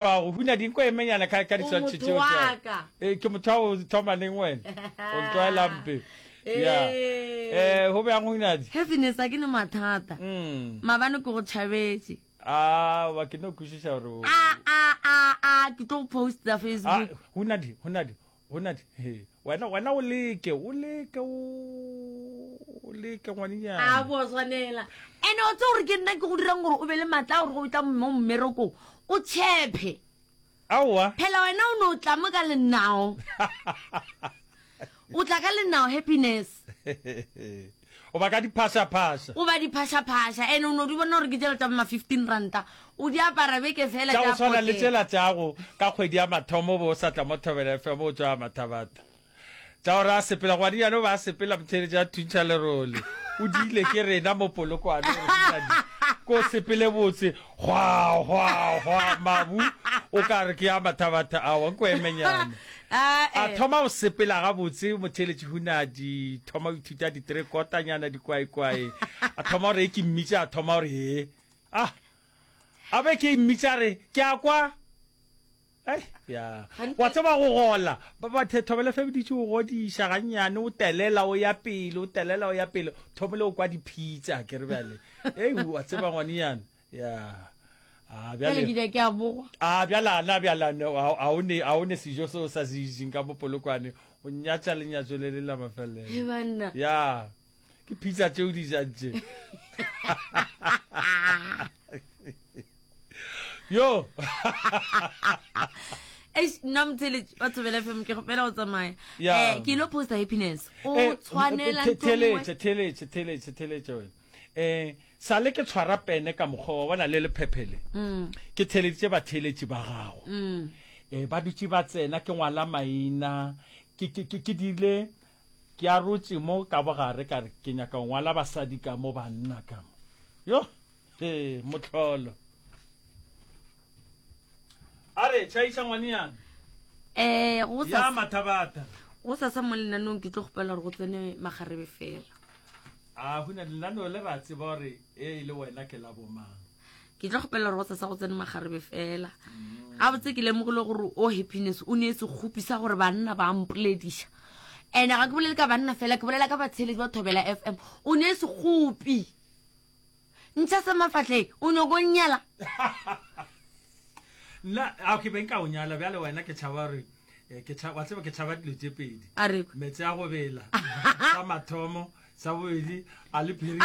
Go huna dinko e menyana ka ka O diswantšho motho tšeo wa tša. ka. Eh, ke motho wa go thoma neng wena? O ntlwaela mpe. Ya. Eh. Eh, go bjang Hunadi? Happiness a ke ne mathata. Mm. Maabane ke go tšhabetše. Ah, wa ke no kwešiša gore o. A a a a ke tlo go posta Ah, Facebook. Hunadi, Hunadi, Hunadi. He. Wena wena o leke, o leke o leke ngwanenyana. A bo swanela. Ene o tse gore ke nna ke go dirang gore o be le matla a gore go tla mo mmerekong o tshephe. Aowa. Phela wena o no tla mo ka lenao. O tla ka lenao happiness. O ba ka diphašaphaša. O ba diphašaphaša ene o no di bona gore ke tšela tša ma 15 ranta. O di apara beke fela Tša go tša swana le potela. tšela tšago ka kgwedi ya mathomo o be o sa tla mo Thobela FM o tšwa Mathabatha. Tša gore a sepela ngwadinyane o be a sepela motheeletši a thuntšha lerole. O diile ke rena mo Polokwane gore mosadi ko sepele botse hwa hwa hwa mabu o ka re ke ya Mathabatha awa nko emenyane. Ah, A eh. thoma go sepela gabotse motheeletši Hunadi thoma go ithuta ditrekotanyana dikwaekwae a thoma gore e ke mmitša a thoma gore he ah a be ke mmitša re ke a kwa Ai, ya. Wa tseba go gola. Ba ba the thobela fe biditše o godiša gannyane o telela o ya pele o telela o ya pele thomile o kwa diphitsa ke re bjale. Ei wa tseba ngwanenyana. Ya. A Bjale ke bjale. ja ke a bogwa. A bjale ana bjale ana a o ne a o ne sejo seo sa se jeng ka mo Polokwane. O nyatša lenyatšo le le la mafelelo. He banna. Ya. Ke pizza tšeo di jang tše. Yo. Eish, nna motheletši wa Thobela FM ke kgopela go tsamaya. Ya. Eh, ke ilo posta happiness. O Eh, tshwanela the- ntho e nngwe. Theletše, theletše, theletše, theletše wena. Eh, sale ke tshwara pene ka mokgwa wa bona le lephephele. Mm. Ke theleditše batheletši ba gago. Mm. Eh, ba dutše ba tsena ke ngwala maina. Ke ke ke ke dile Ke arotše mo ka bogare ka re ke nyaka go ngwala basadi ka mo banna ka mo. Yo, he, mohlolo. A re, tšhaiša ngwanenyana. Eh, go Ya sa mathabatha. go sasa mo lenanong ke tlo kgopela gore go tsene magarebe fela. A huna lenaneo le ra tseba gore e e le wena ke la bomang. Ke tlo kgopela gore go sasa go tsene magarebe fela. Gabotse ke lemogile gore o happiness o ne sekgopi sa gore banna ba mpolediša. Ene ga ke bolele ka banna fela ke bolela ka batsheletsi ba Thobela FM. O ne sekgopi. Ntšha sa mafahleng o nyoko nnyala. Nna a ke be nka o nyala bjale wena ke tšhaba gore eh, ke tšhaba wa tseba ke tšhaba dilo tše pedi. A re Meetse a go bela sa mathomo sa bobedi a le phirimi.